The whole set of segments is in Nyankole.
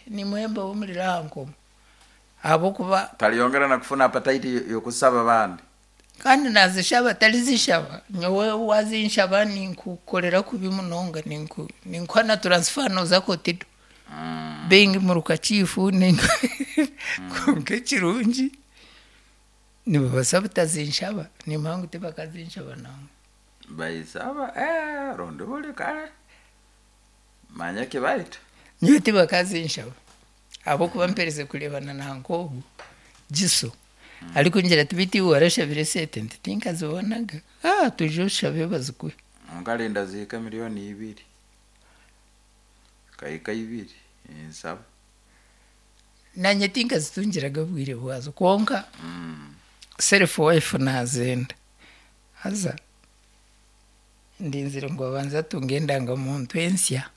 Nimuhemba omuriro aha nkomo ahabw'okuba. Tariyongera na kufuna appetite y'okusaba abandi. Kandi naazishaba tarizishaba. Nyowe waazinshaba ninkukorera kubi munonga ninkuha na transfer nooza Kotido. Being muruka chief kwonka ekirungi nibabaasa butazinshaba nimanya ngu tibakazinshaba nangwa. Bayisaba eh rundi buri kare manya ekibaita. Nyowe tibakazinshaba ahabw'okuba mperize kureebana na nk'ogu Giso arikungira ati beitu iwe warashabire esente nti tinkazibonaga aah twije oshabe bazikuhe. Nkarinda zihike milioni ibiri zikahika ibiri ninsaba. Nanye tinkazitungiraga obwire bwazo kwonka self wife nazenda haza ndinzire ngu abanze atunge endangamuntu ensya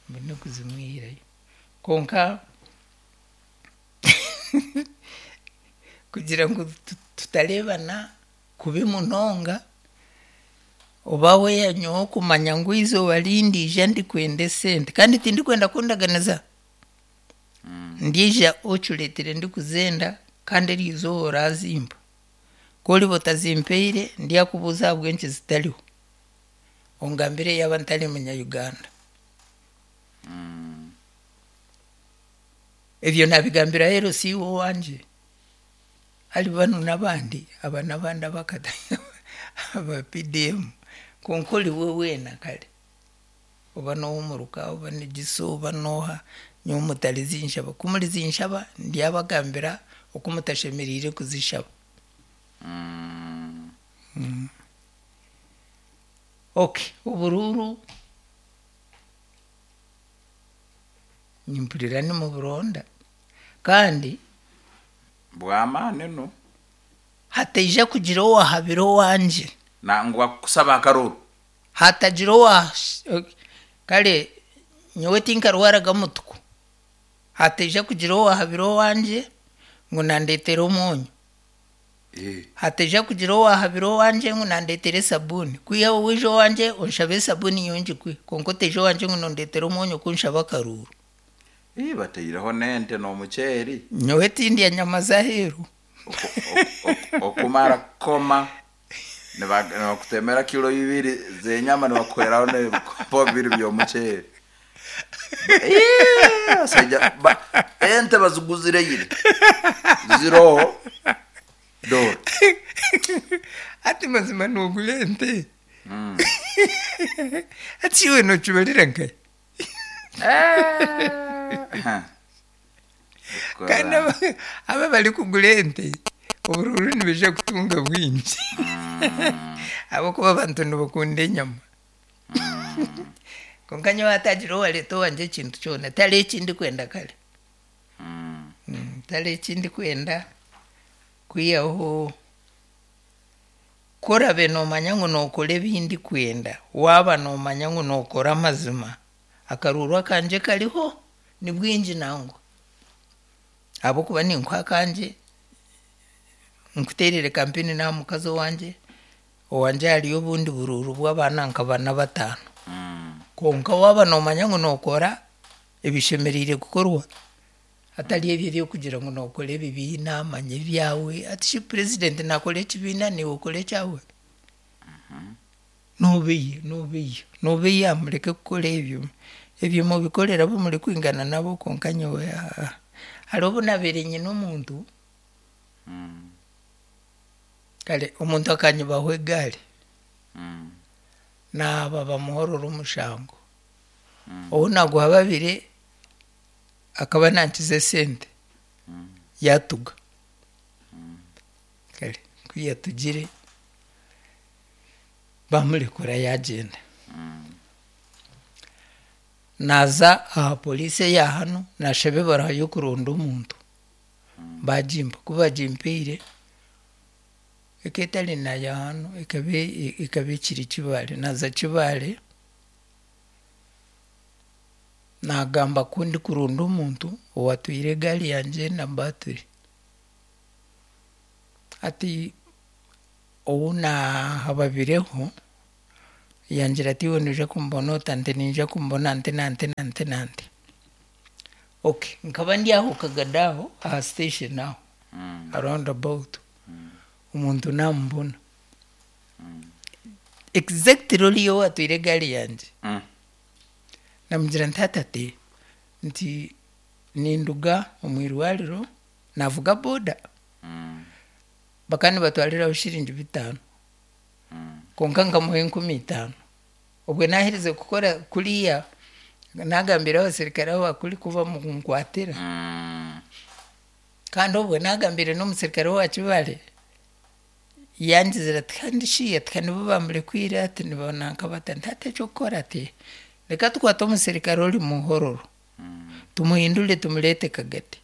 mbone kuzimwihirayo kwonka kugira ngu tutareebana kubi munonga oba weya nyowe kumanya ngu eizooba rindiija ndikwenda esente kandi tindikwenda kundaganiza ndiija ocureetire ndikuzenda kandi eryo izooba orazimpa. Ku oriba otazimpaire ndyakubuuza ahabw'enki zitariho ongambire yaaba ntari munya Uganda. Ebyo naabigambira LC owangye. Hari banu n'abandi, aba n'abandi aba PDM kwonka oriwe weena kare oba n'ow'omuruka oba ni Giso oba n'oha nyowe mutarizinshaba. Ku murizinshaba ndyabagambira oku mutashemereire kuzishaba. Okay, oburuuru nimpurira nimuburonda kandi. Bw'amaani nu. Hataija kugira owahabira owangye. Nangwa kukusaba akaruuru. Hatagira owa kare nyowe tinkarwaraga mutuku. Hataija kugira owahabira owangye ngu nandeetera omwonyo. Hataija kugira owahabira owangye ngu nandeetera esabuuni. Kwihaho waija owangye onshabe esabuuni nyowe ngikuhe kwonka otaija owangye ngu nondeetera omwonyo kunshaba akaruuru. Ii bataireho n'ente n'omuceeri. Nyowe tindya nyama z'aheeru. Okumara kukoma nibakutemera kilo ibiri z'enyama nibakuhweraho n'ebikopo bibiri by'omuceeri. Ii abasaija ente baziguzire ira ziroho dora. Hati mazima nogura ente? Hati iwe nokibarira nkahi? Kandi abo abarikugura ente oburuuru nibaija kutunga bwingi ahabw'okuba abantu nibakunda enyama. Kwonka nyowe hatagira owareeta owangye ekintu kyona tihariho eki ndikwenda kare. Tihariho eki ndikwenda kwihaho Ku oraabe noomanya ngu nookora ebi ndikwenda, waaba noomanya ngu nookora amazima, akaruuru akangye kariho ni bwingi nangwa. Ahabw'okuba ninkuha akangye, nkuteerere kampeyini n'aha mukazi owangye, owangye hariyo obundi buruuru bw'abaana nka bana bataano. Kwonka waaba noomanya ngu nookora ebishemereire kukorwa, Hatari ebyo eby'okugira ngu nookora ebibiina manya ebyawe. Hati shi purezidenti naakora ekibiina naiwe okore ekyawe? Noobeiha, noobeiha, noobeiha mureke kukora ebyo. Ebyo mubikorere abu murikwingana nabo kwonka nyowe aa. Hariho obu naabaire nyine omuntu, kare omuntu akanyibaho egaari, naaba bamuhorora omushango, ou naaguhababire Akaba nankiza esente yatuga. Kare ku yatugire bamurekura yagyenda. Naza aha police eya hanu nashaba ebaruha y'okuronda omuntu bagimpa, ku bagimpaire eka etari naya hanu ekaba ekiri Kibaale, naza Kibaale. Naagamba ku ndikuronda omuntu owatwaire egaari yangye na baaturi. Hati ou naahababireho Yangira ati iwe noija kumbona ota? Nti niinyija kumubona nti na nti na nti na nti. Okay, nkaba ndi aho Kagadi aho aha station aho aha round about, omuntu naamubona. Exactly oriya owaatwire egaari yangye. Namugira nti hati ati, nti ninduga omu irwariro naavuga boda. Bakaba nibatwariraho shiringi bitaano kwonka nkamuha 5000. Obwe naaherize kukora kuriya, naagambira abaserukare aba kuri ku bamunkwatira. Kandi obwe naagambire n'omuserukare owa Kibaale, yangizire ati kandi shi ati ka nibo bamurekwire ati nibananka bata? Nti hati eky'okukora ati reka tukwate omuserukare ori Muhororo tumuhindure tumureete Kagadi.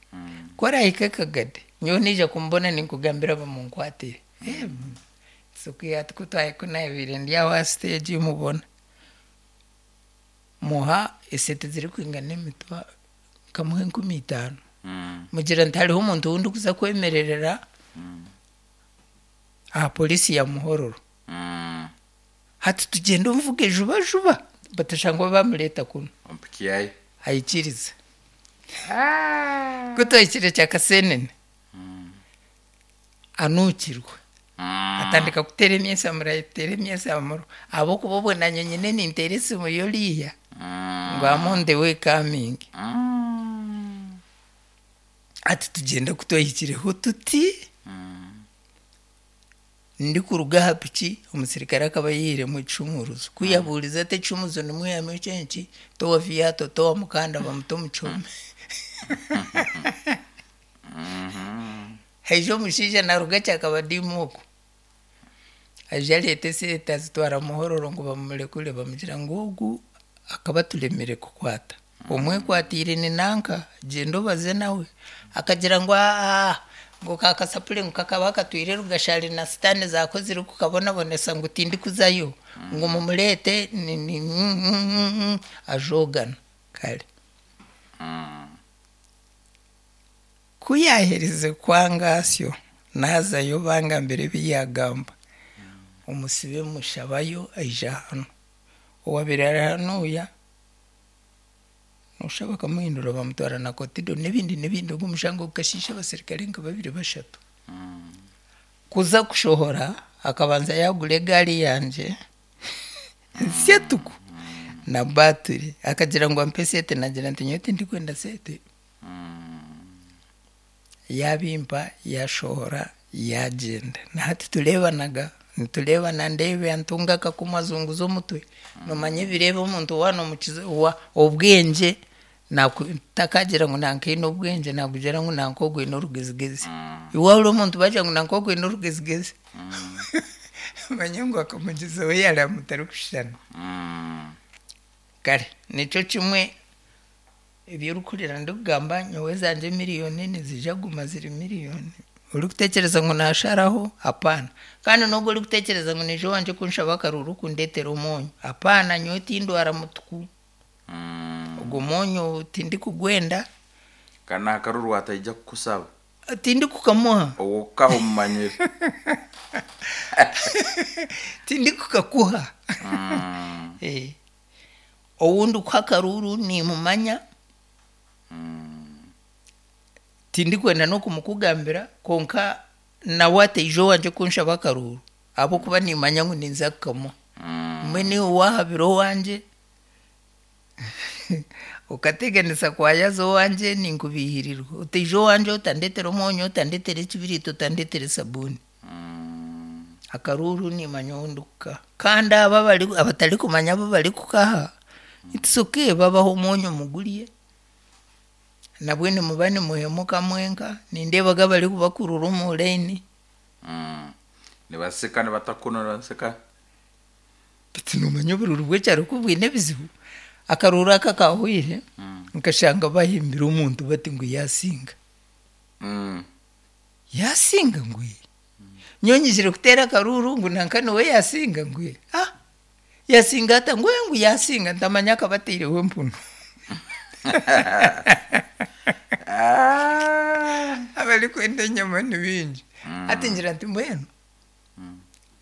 Ku araahike Kagadi, nyowe naija kumubona ninkugambira bamunkwatire. Ati ku ku naabaire ndi aho aha siteegi mubona. Muha esente zirikwingana emitwaro, nkamuha 5000. Mugira nti hariho omuntu ou ndikuza kwemererera aha poliisi ya Muhororo. Hati tugyende omuvuge juba juba batashangwa bamureeta kunu. Ompikiayo. Aikiriza. Ku twahikire Kyakasenene, anuukirwa. Atandika kuteera emyesamuro, ateera emyesamuro ahabw'okuba obwo naanye nyine ninteera esimu y'oriya ngu am on the way coming. Hati tugyenda ku twahikireho tuti, ndikuruga aha piki, omusirikare akaba ayeihiremu ekishumuruzo. Ku yabuurize ati ekishumuruzo nimwihamu ekyenki, towa viato, towa mukanda bamuta omu kihome. Haija omushaija naaruga Kyakabadimu okwo, aija areeta esente azitwara Muhororo ngu bamurekure, bamugira ngu ogu akaba aturemire kukwata. Omwekwatiire ni nanka, gyenda obaze nawe. Akagira ngu aa ngu ka kasapuri ngu kakaba katwire Rugashari na sitaane zaako zirikukabonabonesa ngu tindikuzayo, ngu mumureete ni ni ajoogana kare. Ku yaaherize kwanga asyo, naazayo bangambira ebi yaagamba. Omusibe mushabayo aija hanu. Owaabaire ari hanuuya, nooshusha bakamuhindura bamutwara na Kotido n'ebindi n'ebindi. Ogwo omushango gukashiisha abaserukare nka babiri bashatu. Kuza kushohora, akabanza yaagura egaari yangye nsya tuku na baaturi. Akagira ngu ampe esente naagira nti nyowe tindikwenda sente. Yaabimpa yaashohora yaagyenda. Na hati tureebanaga, nitureebana ndeeba ntunga akakumu azunguza omutwe. Noomanya ebireeba omuntu waaba noomukiza obwengye takagira ngu nanka aine obwengye naakugira ngu nanka ogu aine orugezigezi. Iwe waahurira omuntu baagira ngu nanka ogu aine orugezigezi, omanye ngu akamugyezaho yaareeba mutarikushushana. Kare nikyo kimwe ebi orikuhurira ndikugamba nyowe ezangye miriyoni niziija kuguma ziri miriyoni. Orikutekyereza ngu naasharaho, hapaana. Kandi n'ogwo orikutekyereza ngu naija owangye kunshaba akaruuru kundeetera omwonyo, hapaana nyowe tindwara mutuku. Ogwo mwonyo tindikugwenda. Kandi n'aha karuuru ataija kukusaba. Tindikukamuha. Ow'okukaha omumanyire. Tindikukakuha. Ou ndikuha akaruuru nimumanya, tindikwenda n'okumukugambira kwonka nawe ataija owangye kunshaba akaruuru ahabw'okuba nimanya ngu ninza kukamuha. Mbwenu iwe waahabira owangye, okateganisa kwayaza owangye ninkubiihirirwa. Otaija owangye otandeetera omwonyo, otandeetera ekibiriiti, otandeetera esabuuni. Akaruuru nimanya ou ndikukaha. Kandi abo abatarikumanya abu barikukaha, it's okay babahe omwonyo mugurye, nabwe nimuba nimuhemuka mwenka, nindeebaga abarikubakurura omu layini. Nibaseka nibatakuna nibaseka. Beitu noomanya oburuuru bw'ekyaro ku bwine ebizibu, akaruuru aka akaahweire, nkashanga bahimbire omuntu bati ngu yaasinga. Yaasinga ngu ee. Nyowe nyijire kuteera akaruuru ngu nanka niwe yaasinga ngu ee. Ah! Yaasinga ata? Ngu ee ngu yaasinga ntamanya akaba ataireho empunu. Abarikwenda enyama ni baingi. Hati ngira nti mbwenu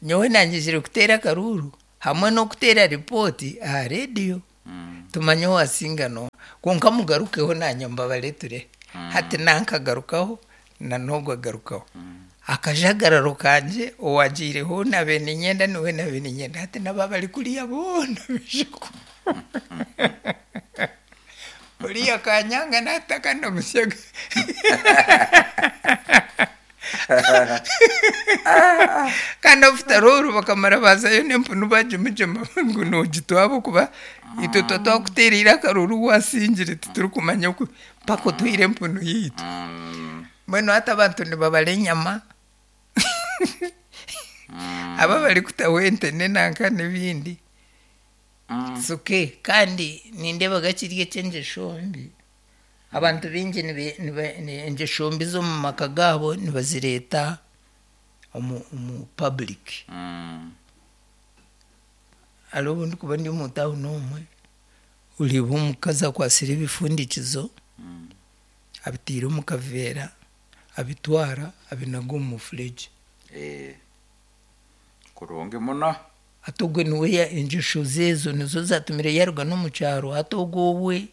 nyowe naanyijire kuteera akaruuru. Hamwe n'okuteera ripooti aha reediyo tumanye owaasinga n'oha. Kwonka mugarukeho naanye mbabareeture. Hati nankagarukaho na n'ogwo agarukaho. Akajagararo kangye owaagiireho ou naabaire niinyenda niwe naabaire niinyenda. Hati n'aba abari kuriya boona baija ku Oriya akanyanga naataka ndamusyaga. Kandi after all bakamara baazayo n'empunu baagimugyema ngu noogitwa ahabw'okuba itwe tuba twakuteereire akaruuru waasingire titurikumanya oku mpaka otuhaire empunu yaitu. Mbwenu hati abantu nibabara enyama, abo abarikutaho ente n'enanka n'ebindi. It's okay kandi nindeebaga kiri eky'engyesho mbi. Abantu baingi engyesho mbi z'omu maka gaabo nibazireeta omu public. Hariho obu ndikuba ndi omu tawuni omwe, oreeba omukazi akwatsire ebifundikizo abiteire omu kaveera abitwara abinaga omu mufuregye. Kurungi muno. Hati ogwe niwe engyesho ze ezo nizo zaatumire yaaruga n'omu kyaro hati ogwo owe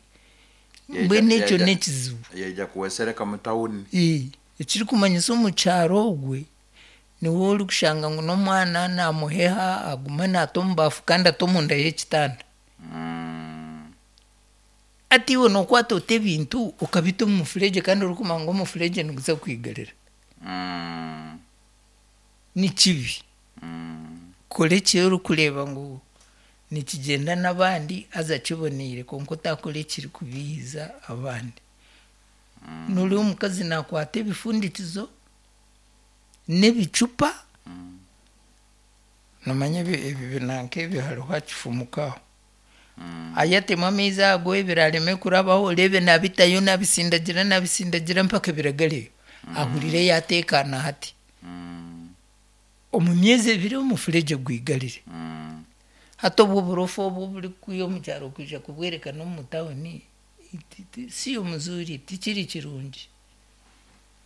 mbwenu ekyo n'ekizibu. Yaija kuwesereka mu tawuni. Ekirikumanyisa omu kyaro ogwe niwe orikushanga ngu n'omwana naamuheha agume naata omu baafu kandi ate omunda y'ekitanda. Hati iwe nookwata ota ebintu okabita omu mufuregye kandi orikumanya ngu omufuregye niguza kwigarira? Ni kibi. Kora eki orikureeba ngu nikigyenda n'abandi haza kiboneire kwonka otaakora ekirikubiihiza abandi. Nooreeba omukazi naakwata ebifundikizo n'ebicupa, noomanya ebi binanka ebi hariho hakifumuka aho, ayatemu amaizi ago ebirareme kurabaho oreebe naabitayo naabisindagira naabisindagira mpaka biragareyo, ahurire yaateekaana hati. Omu myezi ebiri omufuregye gwigarire. Hati obwo oburofa obu oburikukwiha omu kyaro kwija kubwerekana omu tawuni siyo muzuri tikiri kirungi.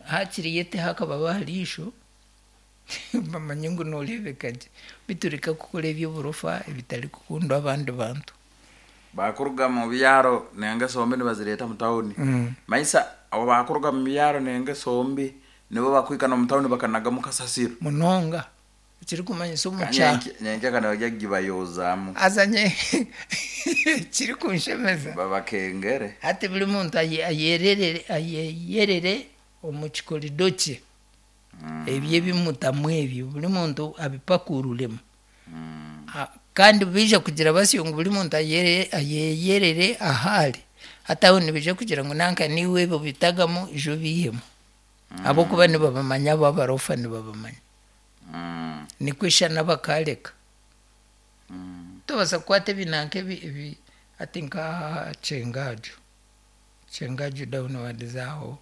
Hakiri yeteho akababa aha riisho bamanye ngu nooreebeka gye. Beitu reka kukora eby'oburofa ebitarikukundwa abandi bantu. Baakuruga mu byaro n'engeso mbi nibazireeta mu tawuni. Manyisa abo baakuruga mu byaro n'engeso mbi nibo bakuhika n'omu tawuni bakanagamu kasasiro. Munonga. Ekirikumanyisa omu kyaro. Nyenkya kare nibajya kugibayozaamu. Haza nyowe ekirikunshemeza. Babakengere. Hati buri muntu ayeyerere omu kikorido kye. Ebyo ebi mutamu ebyo buri muntu abipakururemu. Kandi baija kugira basyo ngu buri muntu ayeyerere ahu ari, hati aho nibaija kugira ngu nanka naiwe ebi obitagamu ija obiihemu ahabw'okuba nibabamanya abo abarofa nibabamanya. Nikwo eshana bakaareka. Tobaasa kukwata ebi nanka ebi ebi hati nka Kyengaju, Kyengaju downwards aho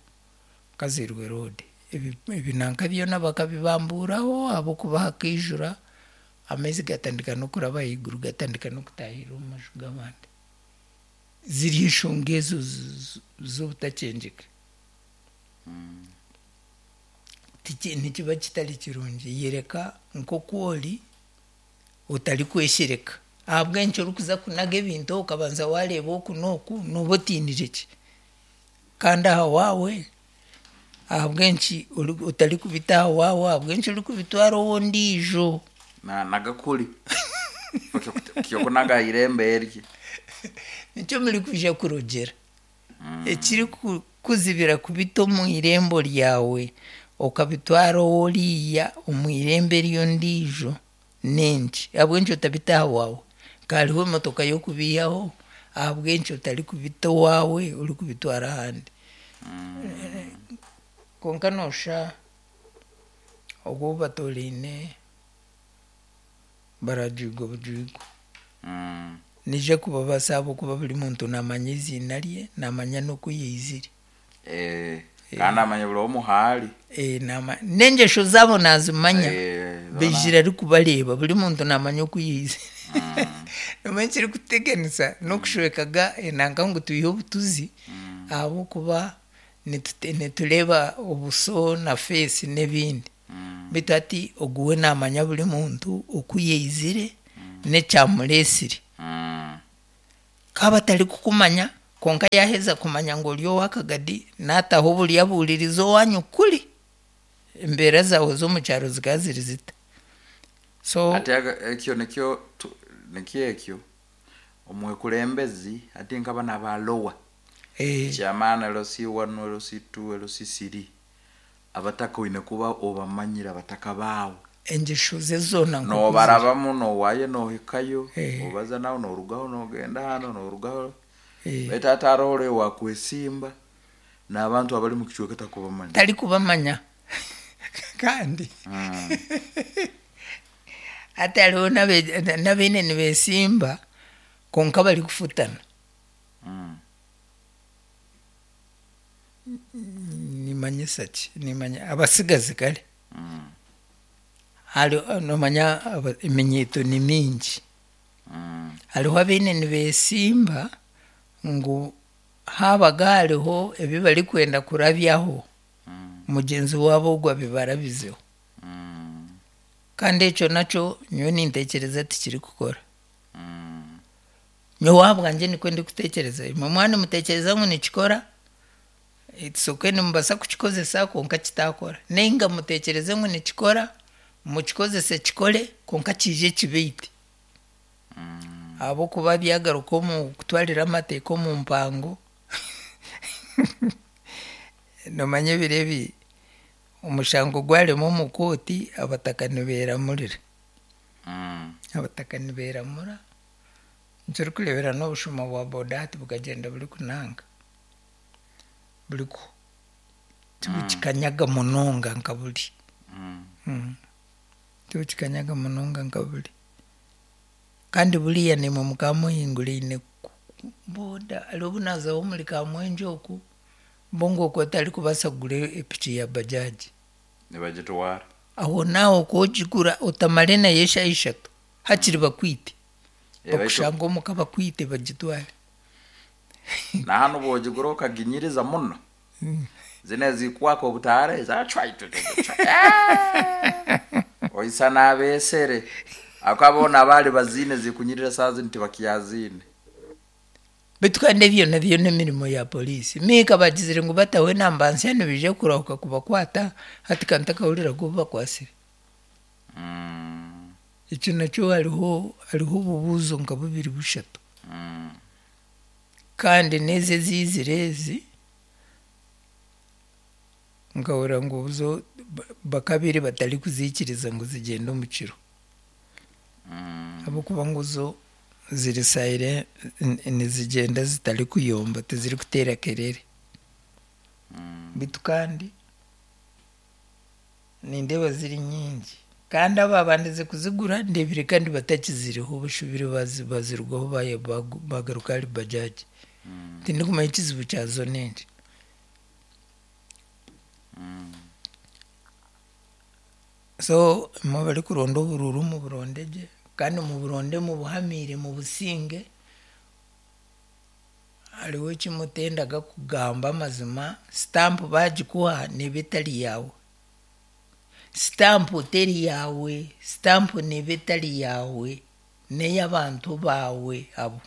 Kazirwe road, ebi nanka byona bakabibambuuraho ahabw'okuba hakaijura amaizi gatandika n'okuraba ahaiguru gatandika n'okutaahirira omu maju g'abandi. Ziri enshonga ezo z'obutakyengyeka. Nikiba kitari kirungi yoreka nk'oku ori otarikweshereka. Ahabw'enki orikuza kunaga ebintu okabanza waareeba oku n'oku nooba otiinire ki? Kandi aha waawe ahabw'enki otarikubita aha waawe ahabw'enki orikubitwara ow'ondiijo? Naanaga kuri kyokunaga aha irembo erye. Nikyo murikwija kurogyera. Ekirikukuzibira kubita omu irembo ryawe okabitwara ow'oriya omu irembo ery'ondiijo n'enki? Ahabw'enki otabita aha waawe? Nka hariho emotoka y'okubiihaho, ahabw'enki otarikubita owaawe orikubitwara ahandi? Kwonka nooshusha ogwo ou batooraine barajwigwa bujwigwa. Naija kubabaasa ahabw'okuba buri muntu naamanya eiziina rye, naamanya n'oku yaizire. Kandi amanya buri omwe ahu ari. N'engyesho zaabo naazimanya, baijire arikubareeba, buri muntu naamanya oku yaizire. Noomanya ekirikuteganisa n'okushweka ga enanka ngu twihe obutuzi ahabw'okuba nitureeba obuso na feesi n'ebindi. Beitu hati ogu we naamanya buri muntu oku yaizire. N'ekyamureetsire. Ku aba atarikukumanya, kwonka yaaheza kumanya ngu ori ow'akagadi, naataho oburyo abuuririza owaanyu kuri. Embeera zaawe z'omu kyaro zikaba ziri zita? So. Hati ekyo nikyo nikyo ekyo omwekulembezi hati nk'abana ba lower chairman LC one, LC two, LC three abataka oine kuba obamanyire abataka baawe. Engyesho ze zoona nk'oku ziri. Noobarabamu noowayo noohikayo, obaza nawe noorugaho noogenda hanu noorugaho. Beitu hati hariho oriya owakwesimba n'abantu abari omu kicweka takubamanya. Tarikubamanya kandi hati hariho n'abaine nibeesimba kwonka barikufutana. Nimanyisa ki? Nimanya abatsigazi kare. Hariho noomanya eminyeeto ni mingi. Hariho abaine nibeesimba ngu haabaga hariho ebi barikwenda kurabyaho, mugyenzi waabo ogwo abibarabizeho. Kandi ekyo nakyo nyowe nintekyereza tikirikukora. Nyowe ahabwangye nikwo ndikutekyereza. Imwe mwaba nimutekyereza ngu nikikora, it's okay nimubaasa kukikozesa kwonka kitaakora. Nainga mutekyereze ngu nikikora, mukikozese kikore kwonka kiije kibaite. Ahabw'okuba byagaruka omu kutwarira amateeka omu mpango, noomanya ebiro ebi omushango gwarema omu kooti abataka nibeeramurira. Abataka nibeeramura, nikyo orikureebera n'obushuma bwa boda hati bukagyenda burikunanka, burikuhwa, tibukikanyaga munonga nka buri. Tibukikanyaga munonga nka buri. Kandi buriya naimwe mukaba muhinguraine boda hariho obu naazaho omuri Kamwengye oku, bo ngu okwo otarikubaasa kugura epiki ya bajaji. Nibagitwara. Ahonaaho ku ogigura otamare nayo eshaaha ishatu, hakiri bakwite. Bakushange omuka bakwite bagitware. Na hanu bw'ogigura okaginyiriza muno, zinu ezikwaka obutaara ezi, oisa n'abeesere. Ahabw'okuba boona abaali baziine zikunyirira saaha zinu tibakyaziine. Beitu kandi ebyo nabyo n'emirimo ya poriisi. Miika bagizire ngu bataho enamba nsya nibaija kurahuka kubakwata, hati ka ntakahuriraga obu bakwatsire. Ekyo nakyo hariho hariho obubuuzo nka bubiri bushatu. Kandi n'ezi eziizire ezi, nkahurira ngu zo bakabaire batarikuziikiriza ngu zigyende omu kiro. Ahabw'okuba ngu zo ziri silent nizigyenda zitarikuyomba tizirikuteera kerere. Beitu kandi nindeeba ziri nyingi. Kandi abaabandize kuzigura ndeebire kandi batakiziriho bashubire bazirugaho baagaruka ahari bajaji. Tindikumanya ekizibu kyazo n'enki. So imwe abarikuronda oburuuru muburonde gye kandi muburonde mubuhamiire mubusinge. Hariho eki mutendaga kugamba amazima, sitampu baagikuha neeba etari yaawe. Sitampu teri yaawe, sitampu neeba etari yaawe, n'ey'abantu baawe abo.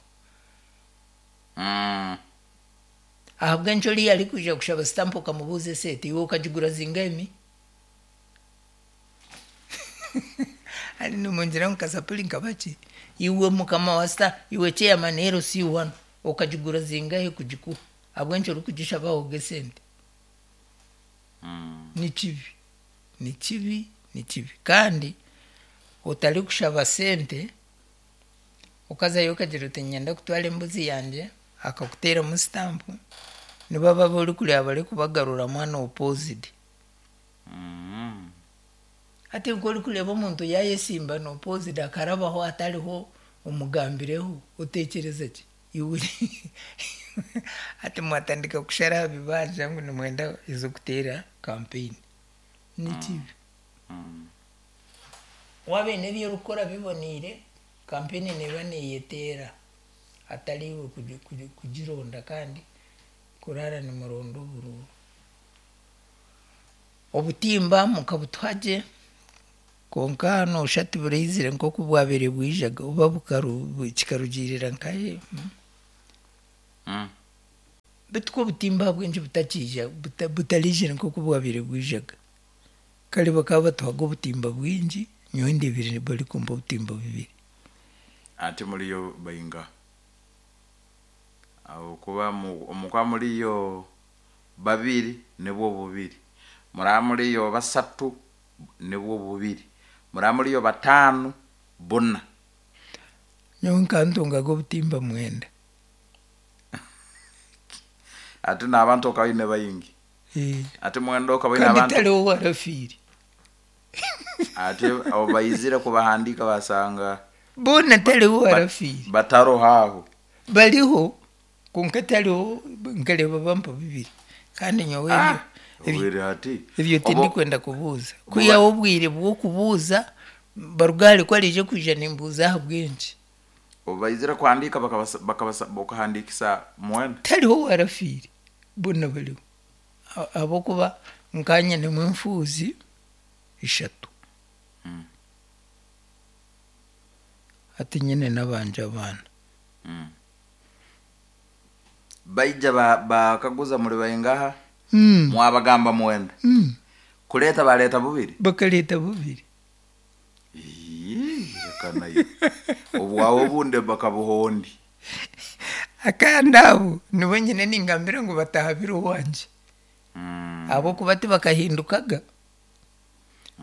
Ahabw'enki oriya arikwija kushaba sitampu okamubuuza esente iwe okagigura zingahi mi? Hati nimungira ngu kasapuri nkabaki? Iwe mukama wa sitampu, iwe chairman LC1 okagigura zingahi kugikuha? Ahabw'enki orikugishaba ahoga esente? Ni kibi, ni kibi, ni kibi. Kandi otarikushaba sente, okazayo okagira oti niinyenda kutwara embuzi yangye, akakuteeramu sitampu, nibaba abu orikureeba barikubagaruramu unopposed. Hati nk'orikureeba omuntu yaayesimba unopposed akarabaho hatariho omugambireho, oteekyereza ki? Iwe hati mwatandika kushara aha bibanja ngu nimwenda ez'okuteera kampeyini. Ni kibi. Waaba oine ebi orikukora biboneire, kampeyini neeba neeyeteera hatari iwe kugironda kandi kuraara nimuronda oburuuru. Obutimba mukabutuha gye. Kwonka noshusha tiburaizire nk'oku bwabaire bwijaga oba kikarugiirira nkahe. Beitu ku obutimba ahabw'enki butakiija butariizire nk'oku bwabaire bwijaga. Kare bakaba batuhaga obutimba bwingi, nyowe ndeebire barikumpa obutimba bubiri. Ati muriyo baingaha? Ahabw'okuba omuka muriyo babiri nibwo bubiri, muraba muriyo basatu nibwo bubiri, muraba muriyo bataano buna. Nyowe nkantungaga obutimba mwenda. Ati n'abantu okaba oine baingi. Ati mwenda okaba oine Kandi abantu. tariho owarafiire. Ati obu baizire kubahandiika basanga. Boona tariho owarafiire. Bataroho aho. Bariho kwonka tariho nkareeba bampa bibiri kandi nyowe Ah, ebyo obwire hati. ebyo tindikwenda kubuuza. Kwihaho obwire bw'okubuuza baruga ahari ku araije kwija nimbuuza ahabw'enki. Obu baizire kuhandiika bakabasa bakahandiikisa mwenda. Tariho owarafiire boona bariho ahabw'okuba nka nyinemu enfuuzi ishatu. Hati nyine n'abangye abaana. Baija bakaguza muri baingaha? Mwabagamba mwenda. Kureeta bareeta bubiri? Bakareeta bubiri. Ii, reka naiwe. Obwawe obundi bakabuha ondi. Akandi abo nibo nyine ningambira ngu batahabire owangye. Ahabw'okuba tibakahindukaga.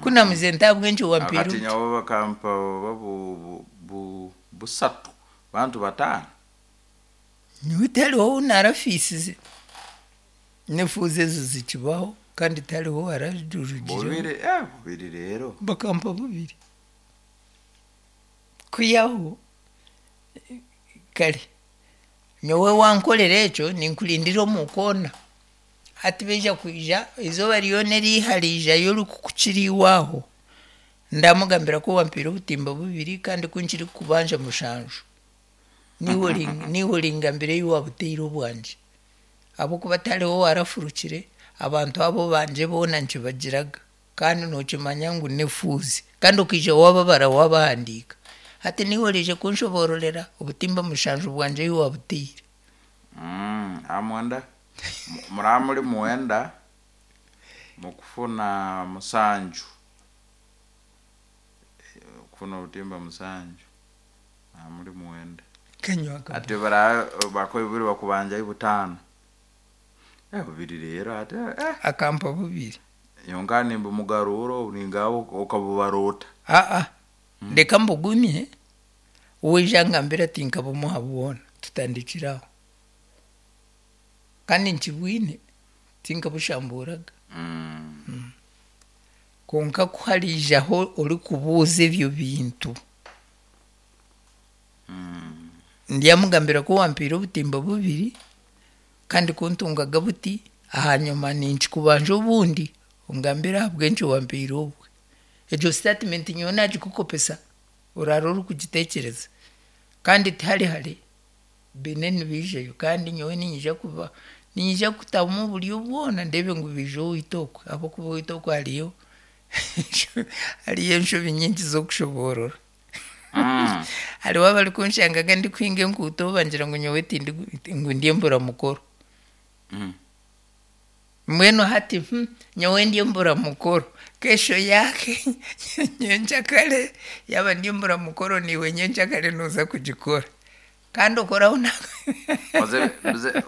Ku namuze nti ahabw'enki wampiire Akati obuti? nyowe bakampa oba busatu bantu bataano. Nyowe tihariho ou naarafiisize. N'efuuzi ezo zikibaho kandi tihariho owaararugireho. Bubiri, eh, bubiri reero. Bakampa bubiri. Kwihaho kare nyowe wankorera ekyo ninkurindira omu koona. Hati baija kwija eizooba ryona eriiha riijayo orikukukira iwe aho, ndamugambira ku wampiire obutimba bubiri kandi ku nkirikukubanja mushanju. Niiwe oringambira ei waabutaire obwangye. Ahabw'okuba tihariho owaarafurukire, abantu abo bangye boona nkibagiraga. Kandi nookimanya ngu n'efuuzi. Kandi okaija waababara waabahandiika. Hati niiwe oraije kunshoboororera obutimba mushanju bwangye ei waabutaire. Aha mwenda, muraba muri mwenda, mukufuna musanju, kufuna obutimba musanju, muraba muri mwenda. Kanywa akabwa. Hati baraba bakuha bubiri bakubanjayo butaano. Eh bubiri reero hati eh. Akampa bubiri. Nyowe nkaba nimbumugaruura obu ningaaba okabubarora ota? Aa, reka mbugumye, waija angambire ati nkabumuha bwona, tutandikire aho. Kandi nkibwine, tinkabushambuuraga. Kwonka ku hariijaho orikubuuza ebyo bintu, ndyamugambira ku wampiire obutimba bubiri kandi ku ntungaga buti, ahanyima ninkikubanja obundi, ongambire ahabw'enki wampiire obwe. Egyo sitatimenti nyowe naagikukopesa, oraara orikugitekyereza. Kandi tihari hare, baine nibaijayo kandi nyowe niinyija kuba niinyija kutamu oburyo bwona ndeebe ngu baija owaitu okwe ahabw'okuba owaitu okwe hariyo hariyo enshobi nyingi z'okushoboorora. Hariho abarikunshangaga ndikuhinga enkuuto bangira ngu nyowe tindi ngu ndi emburamukoro. Mbwenu hati nyowe ndi emburamukoro, kesho yake nyenkyakare yaaba ndi emburamukoro naiwe nyenkyakare nooza kugikora. Kandi okoraho na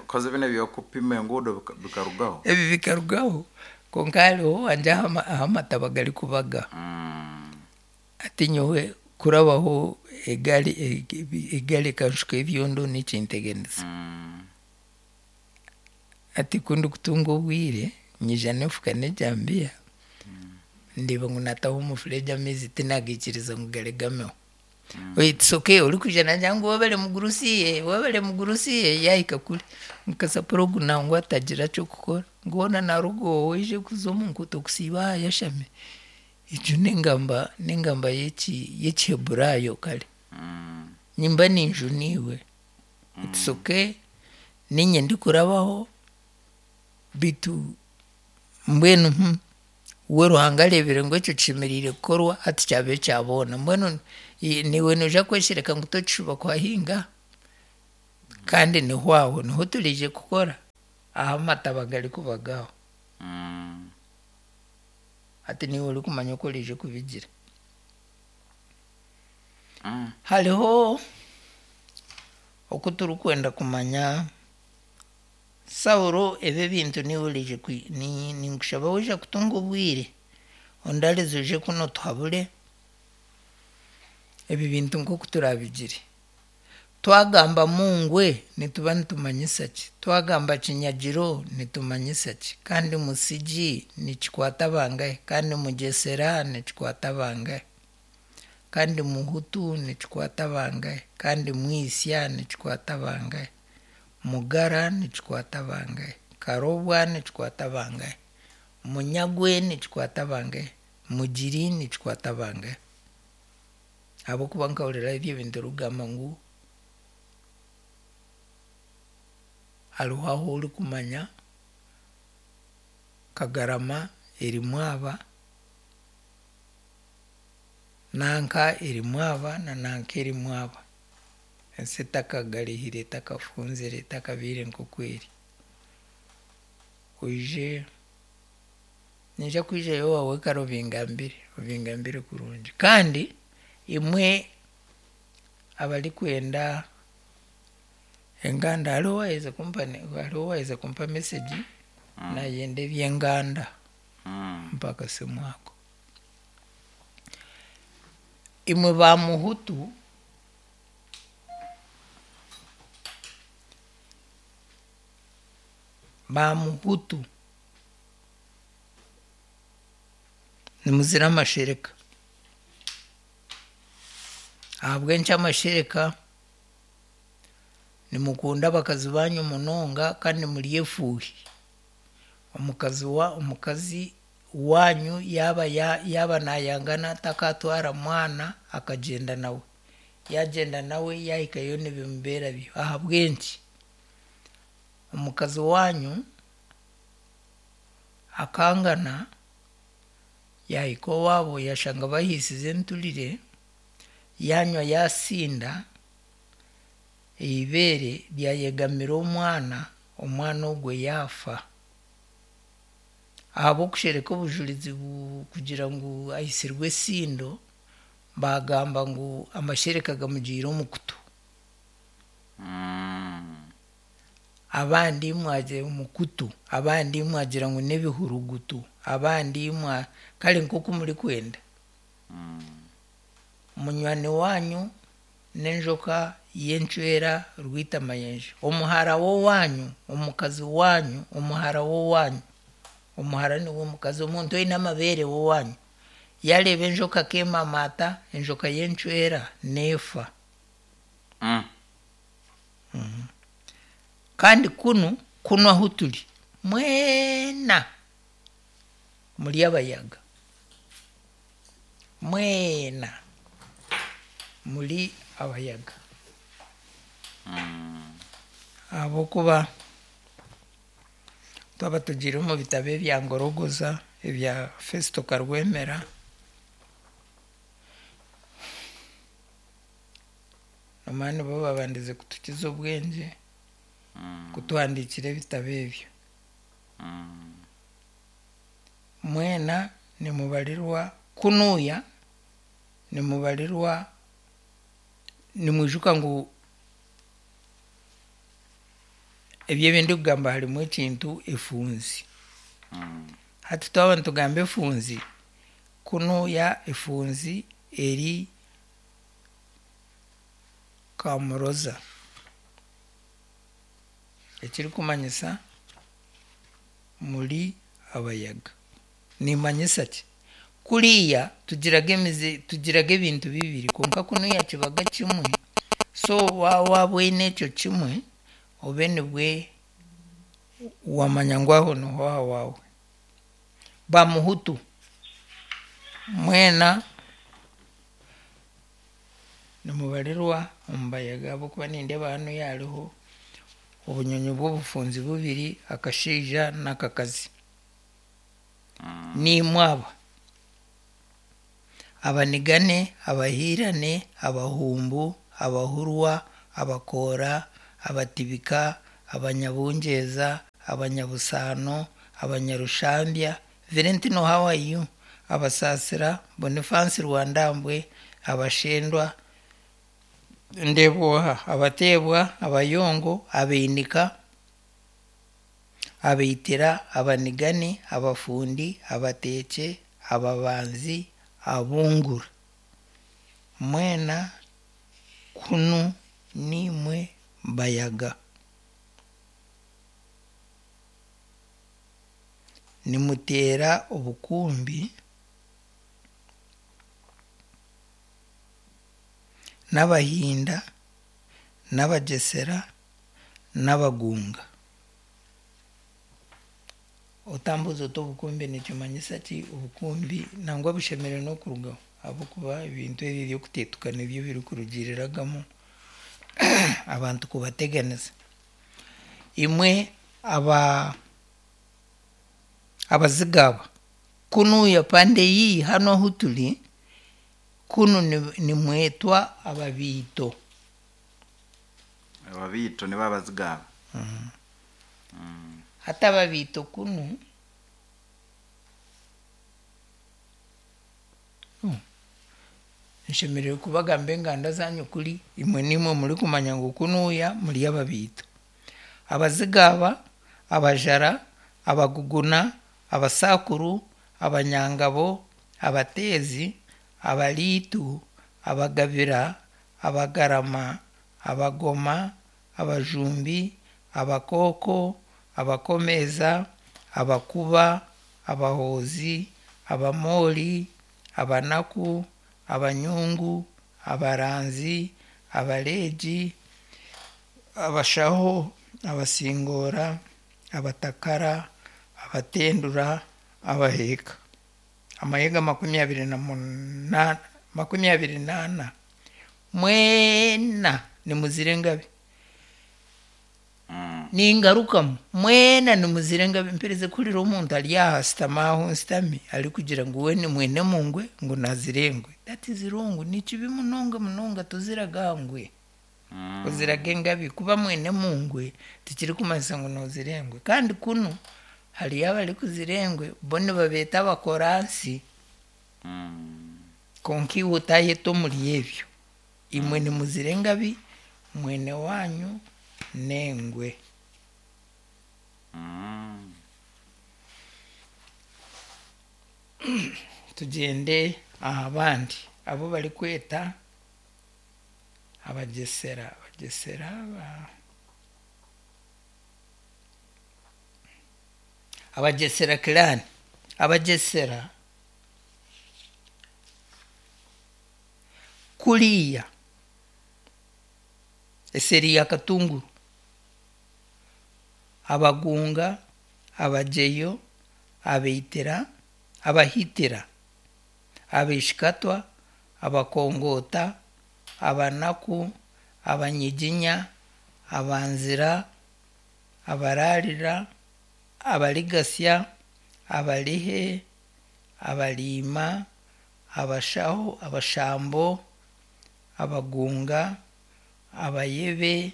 Koze binu eby'okupima enguudo bikarugaho? Ebi bikarugaho kwonka hariho owangye ahu amataba garikubaga. Hati nyowe kurabaho egaari egaari ekanshuka ebyondo nikinteganisa. Hati ku ndikutunga obwire, nyija n'efuka n'ejambiya, ndeeba ngu naataho omufuregye amaizi tinaagaikiriza ngu garegameho. It's okay orikwija naagira ngu webare mugurusi, webare mugurusi yaahika kuri, ngu kasapura ogu nangwa atagira ky'okukora, ngu hoona naaruga owe aije kuza omu nguuto kusiiba aha ayashami. Egyo n'engamba n'engamba y'Ekiheburaayo kare. Nimba ninjuna iwe. It's okay niinye ndikurabaho beitu mbwenu. We Ruhanga areebire ngu ekyo kishemereire kukorwa hati kyaba ekya boona. Mbwenu naiwe noija kweshereka ngu tokishuba kuhahinga? Kandi niho aho niho turaije kukora ahu amataba garikuba gaaho. Hati niiwe orikumanya oku oraije kubigira. Hariho oku turikwenda kumanya Saulo ebi ebintu niiwe oraije ninkushaba waija kutunga obwire ondarize oije kunu otuhabure ebi bintu nk'oku turabigire. Twagamba Mungwe nituba nitumanyisa ki? Twagamba Kinyagiro nitumanyisa ki? Kandi Musigi nikikwata bangahi? Kandi Mugyesera nikikwata bangahi? Kandi Muhutu nikikwata bangahi? Kandi Mwisya nikikwata bangahi? Mugara nikikwata bangahi? Karobwa nikikwata bangahi? Munyagwe nikikwata bangahi? Mugiri nikikwata bangahi? Ahabw'okuba nkahurira ebyo ebintu orikugamba ngu hariho ahu orikumanya Kagarama erimu aba, nanka erimu aba na nanka erimu aba. Ensi etakagarihire, etakafunzire, etakabaire nk'oku eri. Oije, niinyija kwijayo owaawe kare obingambire, obingambire kurungi. Kandi imwe abarikwenda enganda, hariho owaaherize kumpa hariho owaaherize kumpa mesegi naayenda eby'enganda, mpa akasimu ako. Imwe ba Muhutu, ba Muhutu nimuzira amashereka. Ahabw'enki amashereka? Nimukunda abakazi baanyu munonga kandi muri efuuhi. Omukazi wa omukazi waanyu yaaba yaaba naayangana takaatwara mwana akagyenda nawe. Yaagyenda nawe yaahikayo nibimubeera byo. Ahabw'enki? Omukazi waanyu akangana yaahika owaabo yaashanga bahiisize enturire, yaanywa yaasinda, eibeere ryayegamira omwana, omwana ogwo yaafa. Ahabw'okushereka obujurizi kugira ngu aitsirwe esindo, baagamba ngu amashereka gamugiire omu kutu. Abandi mwagira omu kutu, abandi mwagira ngu n'ebihurugutu, abandi mwa kare nk'oku murikwenda. Munywani waanyu n'enjoka y'encwera rwitamayenje. Omuhara w'owaanyu, omukazi waanyu, omuhara w'owaanyu, omuhara niwe mukazi, omuntu oine amabeere w'owaanyu, yaareeba enjoka akeemamaata, enjoka y'encwera neefa. Kandi kunu, kunu ahu turi, mwena muri abayaga. Mwena muri abayaga. Ahabw'okuba twaba tugiire omu bitabo ebya Ngorogoza, ebya Festo Karwemera, Nomanya nibo babandize kutukiza obwengye kutuhandiikira ebitabo ebyo. Mwena nimubarirwa kunuuya, nimubarirwa, nimwijuka ngu ebyo ebi ndikugamba harimu ekintu efunzi. Hati twaba nitugamba efunzi, kunuuya efunzi eri Kamuroza. Ekirikumanyisa muri abayaga. Nimanyisa ki? Kuriya tugiraga emize tugiraga ebintu bibiri kwonka kunuya kibaga kimwe so waaba oine ekyo kimwe obe nibwe wamanya ngu aho niho ahawaawe. Ba Muhutu mwena nimubarirwa omu bayaga ahabw'okuba nindeeba hanuya hariho obunyonyi bw'obufunzi bubiri akashaija n'akakazi. Niimwe aba: Abanigane, Abahiirane, Abahumbu, Abahurwa, Abakoora, Abatibika, Abanyabungyeza, Abanyabusaano, Abanyarushambya, Valentino how are you? Abasaasira, Boniface Rwandambwe, Abashendwa, ndeeba oha? Abateebwa, Abayongo, Abainika, Abaitira, Abanigani, Abafundi, Abateekye, Ababanzi, Abungura. Mwena kunu niimwe Bayaga. Nimuteera obukumbi n'Abahinda n'Abagyesera n'Abagunga. Otambuuza oti obukumbi nikimanyisa ki? Obukumbi nangwa bushemereire n'okurugaho ahabw'okuba ebintu ebi eby'okuteetuka nibyo birikurugiiriragamu abantu kubateganisa. Imwe aba Abaziga aba, kunuuya pande iyi hanu ahu turi, kunu nimwetwa Ababiito. Ababiito nibo Abaziga aba. Hati Ababiito kunu nshemereire kubagamba enganda zaanyu kuri imwe niimwe murikumanya ngu kunuuya muri Ababiito. Abaziga aba, Abajara, Abaguguna, Abasakuru, Abanyangabo, Abateezi, Abariitu, Abagabira, Abagarama, Abagoma, Abajumbi, Abakooko, Abakomeeza, Abakuba, Abahoozi, Abamoori, Abanaku, Abanyungu, Abaranzi, Abareegi, Abashaho, Abasingoora, Abatakara, Abatendura, Abaheeka. Amahega 28 24. Mwena nimuzira engabi. Ningarukamu, mwena nimuzira engabi. Mperize kuhurira omuntu ari aha ashutami aho nshutami arikugira ngu we ni mwene mungwe ngu nazira engwe. That is wrong. Ni kibi munonga munonga toziraga ngwe. Oziraga engabi. Kuba mwene mungwe tikirikumanyisa ngu nozira engwe. Kandi kunu hariyo abarikuzira engwe bo nibabeeta abakoransi. Kwonka iwe otayeta omuri ebyo. Imwe nimuzira engabi, mwene waanyu n'engwe. Tugyende aha bandi abu barikweta Abagyesera. Abagyesera aba Abagyesera clan. Abagyesera kuriya eseeri ya Katunguru, Abagunga, Abagyeyo, Abaitira, Abahitira, Abaishikatwa, Abakongoota, Abanaku, Abanyiginya, Abanzira, Abararira, Abarigasya, Abarihe, Abariima, Abashaho, Abashambo, Abagunga, Abayebe,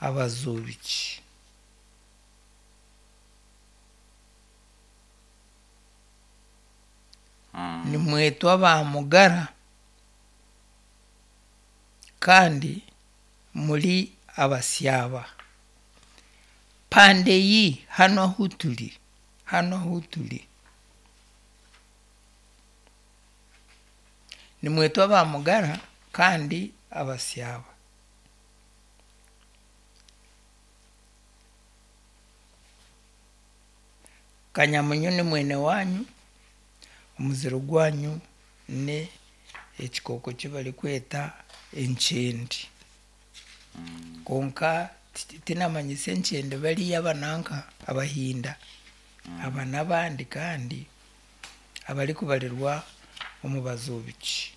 Abazuubiki. Nimwetwa ba Mugara kandi muri Abasyaba. Pande iyi hanu ahu turi, hanu ahu turi. Nimwetwa ba Mugara kandi Abasyaba. Kanyamunyu ni mwene wanyu, omuziro gwanyu ni ekikooko ki barikweta enkyende. Kwonka tinamanyisa enkyende bariya abananka Abahinda, aba n'abandi kandi abarikubarirwa omu Bazuubiki.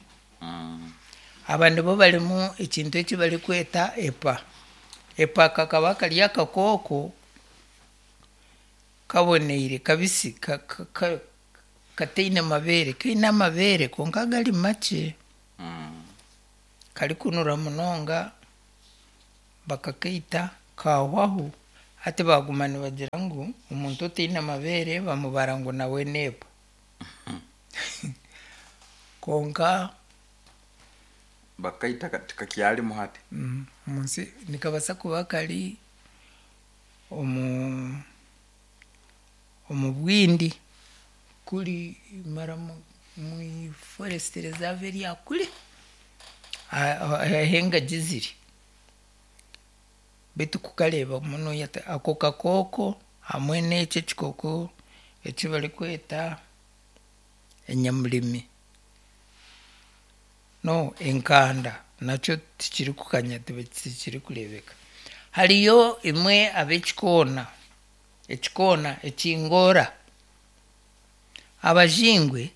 Aba nibo barimu ekintu eki barikweta epa. Epa kakaba kari akakooko kaboneire kabisi. Kataine mabeere, kaine amabeere kwonka gari makye. Karikunura munonga bakakaita kahwaho. Hati baguma nibagira ngu omuntu otaine mabeere bamubara ngu nawe n'ebwa. Kwonka Bakaita tikakyarimu hati. Omunsi nikabaasa kuba kari omu omu bwindi kuri mara mu forest reserve erya kuri ahu engagi ziri. Beitu kukareeba muno ako kakooko hamwe n'ekyo ekikooko eki barikweta enyamurimi no enkanda nakyo tikirikukanya, tikirikureebeka. Hariyo imwe ab'ekikoona, ekikoona ekingoora, abajingwe,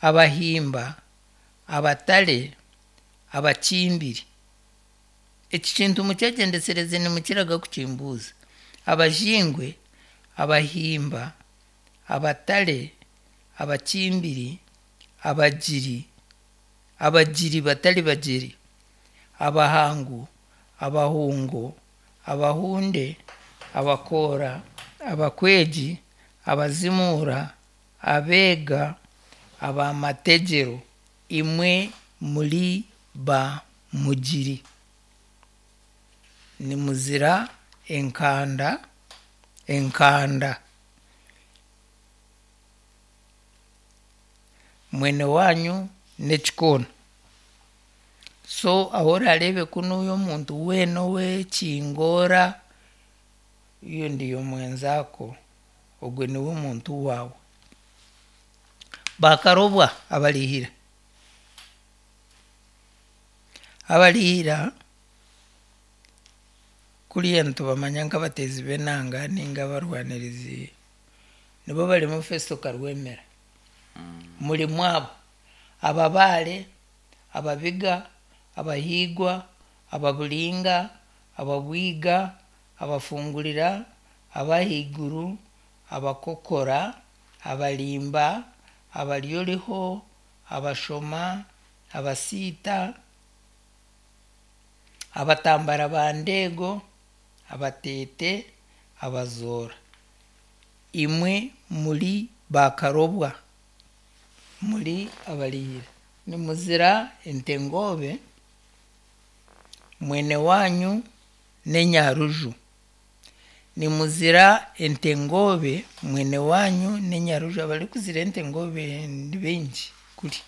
abahimba, abatare, abakimbiri. Eki kintu mukyegyendesereze nimukiraga kukimbuuza. Abajingwe, abahimba, abatare, abakimbiri, abagiri, abagiri batari bagiri, abahangu, abahungo, abahunde, abakoora, abakwegi, abazimuura, abeega, abamategyero, imwe muri ba mugiri. Nimuzira enkanda, enkanda. Mwene wanyu n'ekikoona. So ahu orareebe kunuya omuntu weena ow'ekingoora, iyo ndiyo mwenzaako, ogwe niwe muntu waawe. Bakarobwa abarihira. Abarihira kuriya nitubamanya nk'abateezi b'enanga ninga abarwanirizi, nibo barimu Festo Karwemera. Murimu abo, ababaare, ababiga, abahiigwa, ababuringa, ababwiga, abafungurira, abahaiguru, abakokora, abarimba, abaryoriho, abashoma, abasiita, abatambara ba ndeego, abateete, abazoora. Imwe muri bakarobwa, muri abarihira. Nimuzira entengoobe, mwene wanyu n'enyaruju. Nimuzira entengoobe, mwene wanyu n'enyaruju. Abarikuzira entengoobe ni baingi kuri.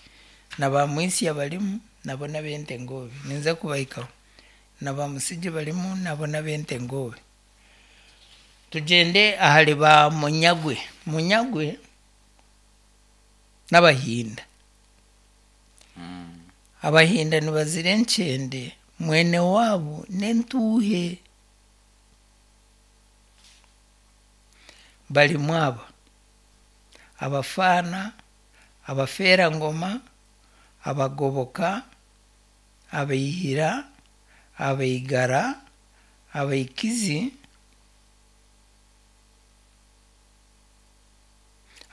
Na ba Mwisia barimu nabo n'ab'entengoobe. Ninza kubahikaho. Na ba Musigi barimu nabo n'ab'entengoobe. Tugyende ahari ba Munyagwe. Munyagwe n'Abahinda. Abahinda nibazira enkyende, mwene waabo n'entuuhe. Barimu aba: abafaana, abafeerangoma, abagoboka, abaihira, abaigara, abaikizi,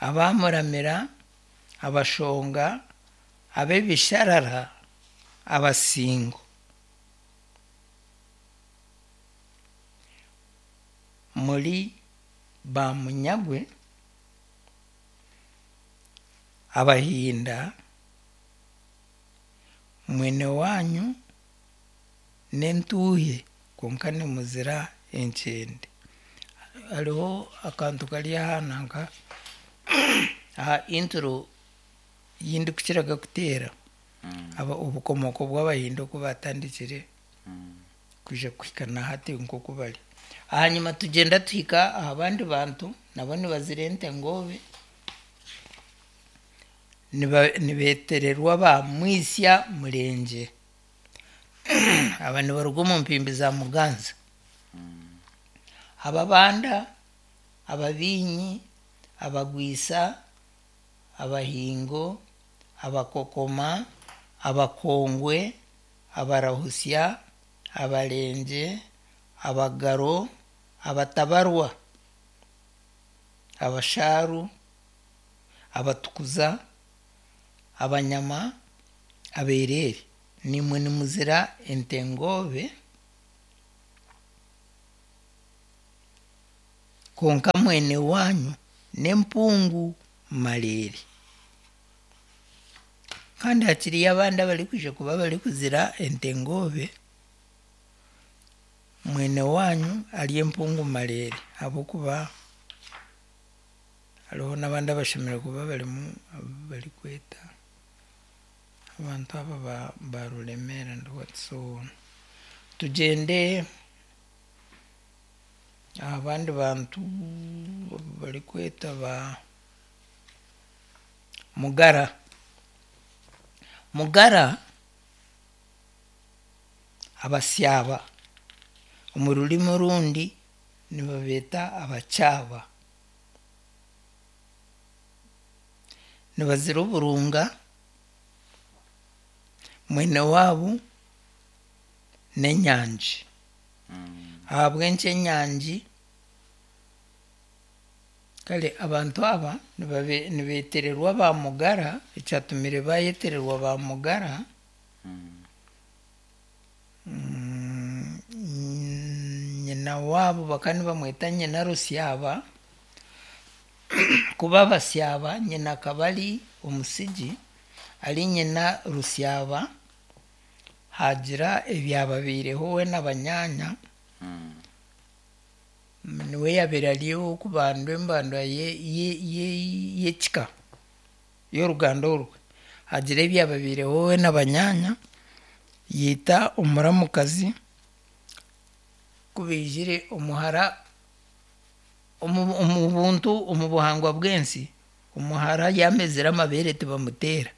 abamuramira, abashonga, ab'ebisharara, abasingo. Muri ba Munyagwe, Abahinda, mwene wanyu n'entuuhe kwonka nimuzira enkyende. Hariho akantu kari aha nanka aha intro ei ndikukiraga kuteera, obukomooko bw'Abahinda oku baatandikire kwija kuhika na hati nk'oku bari. Ahanyima tugyenda tuhika aha bandi bantu nabo nibazira entengoobe, nibeetererwa ba Mwisya Murengye. Aba nibaruga omu mpimbi za Muganza. Ababanda, Ababiinyi, Abagwisa, Abahingo, Abakokoma, Abakongwe, Abarahusya, Abarengye, Abagaro, Abatabarwa, Abashaaru, Abatukuza, Abanyama, Abeereere. Naimwe nimuzira ente ngoobe, kwonka mwene waanyu n'empungu mareere. Kandi hakiriyo abandi abarikwija kuba barikuzira ente ngoobe, mwene waanyu ari empungu mareere ahabw'okuba hariho n'abandi abashemereire kuba barimu abu barikweta abantu aba ba ba Ruremeera and what so on. Tugyende aha bandi bantu abu barikweta ba Mugara. Mugara Abasyaba omu rurimi orundi nibabeeta Abakyaba. Nibazira oburunga, mwene waabo n'enyangi. Ahabw'enki enyangi? Kare abantu aba nibabe nibeetererwa ba Mugara, ekyatumire baayetererwa ba Mugara, nyina waabo bakaba nibamweta nyina Rusyaba, kuba Abasyaba nyina akaba ari Omusigi, ari nyina Rusyaba, haagira ebyababaireho we na banyaanya, niwe yaabaire ari ow'okubandwa embandwa ye- ye- ye- y'ekika y'oruganda orwe. Haagira ebyababaireho we na banyaanya, yaita omuramukazi, ku baijire omuhara omu omu buntu omu buhangwa bw'ensi, omuhara yaamezire amabeere tibamuteera.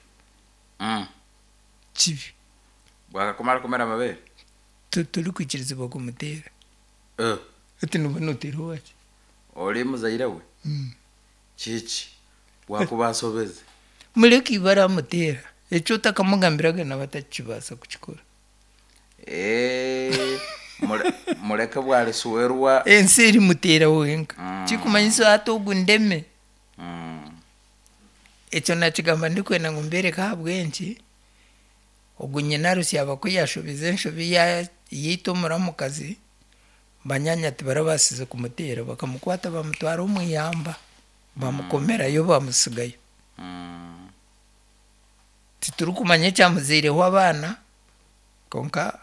Kibi. Bwakakumara kumera amabeere? Torikwikirizibwa kumuteera. Hati nooba nooteera owaki? Ori muzaire we? Kiki? Bwakuba asobeze? Mureke iwe aramuteera. Eki otakamugambiraga nawe atakibaasa kukikora. Eh, mureke bwarisuwerwa. Ensi erimuteera wenka. Kirikumanyisa hati ogu ndeme. Ekyo nakigamba ndikwenda ngu mbereke ahabw'enki ogu nyina Rusyaba ku yaashobize enshobi yaita omuramukazi, banyaanya tibarabaasize kumuteera bakamukwata bamutwara omu ihamba bamukomerayo bamutsigayo. Titurikumanya ekyamuzaireho abaana kwonka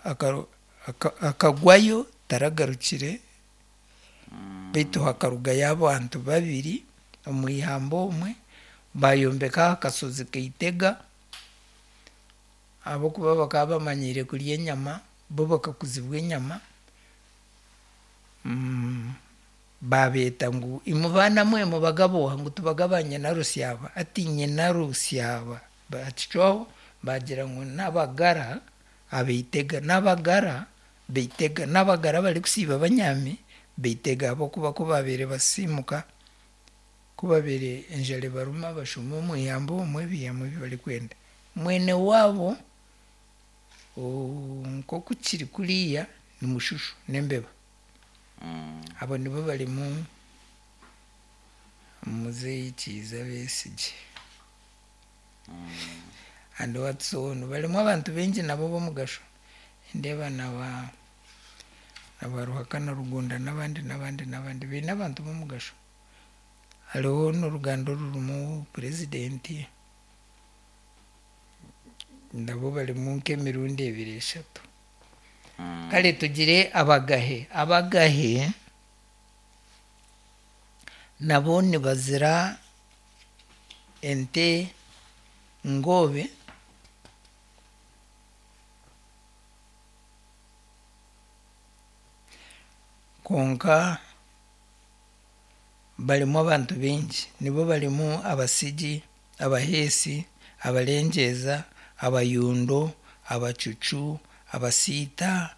akagwayo taragarukire beitu hakarugayo abantu babiri omu ihamba omwe baayombeka aha kashozi Kaitega ahabw'okuba bakaba bamanyiire kurya enyama bo bakakuzibwa enyama baabeeta ngu imwe baana mwe mubagabe oha ngu tubagabe aha nyina Rusyaba hati nyina Rusyaba baakicwaho baagira ngu n'abagara abaitega n'abagara baitega n'abagara abarikusiiba banyaami baitega ahabw'okuba ku baabaire basiimuka ku baabaire enjara ebaruma bashuuma omu ihamba omwe baihamu ebi barikwenda. Mwene waabo nk'oku kiri kuriya ni mushushu n'embeba. Abo nibo barimu muzeeyi Kiiza Besigye and what so on. Barimu abantu baingi nabo b'omugasho. Nindeeba na ba na ba Ruhakana Rugunda n'abandi n'abandi n'abandi baine abantu b'omugasho. Hariho n'oruganda orurimu purezidenti nabo barimu nk'emirundi ebiri eshatu. Kare tugire Abagahe. Abagahe nabo nibazira ente ngoobe kwonka barimu abantu baingi. Nibo barimu Abasigi, Abaheesi, Abarengyeza, Abayundo, Abacucu, Abasiita,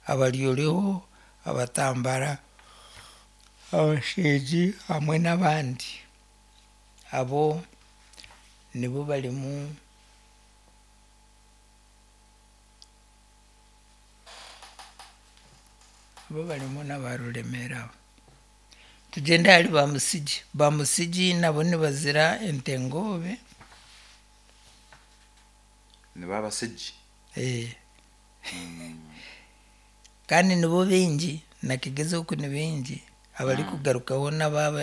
Abaryoreho, Abatambara, Abashengi hamwe n'abandi. Abo nibo barimu abo barimu n'aba Ruremeera abo. Tugyende ahari Bamusigi. Bamusigi nabo nibazira Entengobe. Nibo Abasigi. Eh. Kandi nibo baingi, na Kigezi oku ni baingi abarikugarukaho n'abaaba.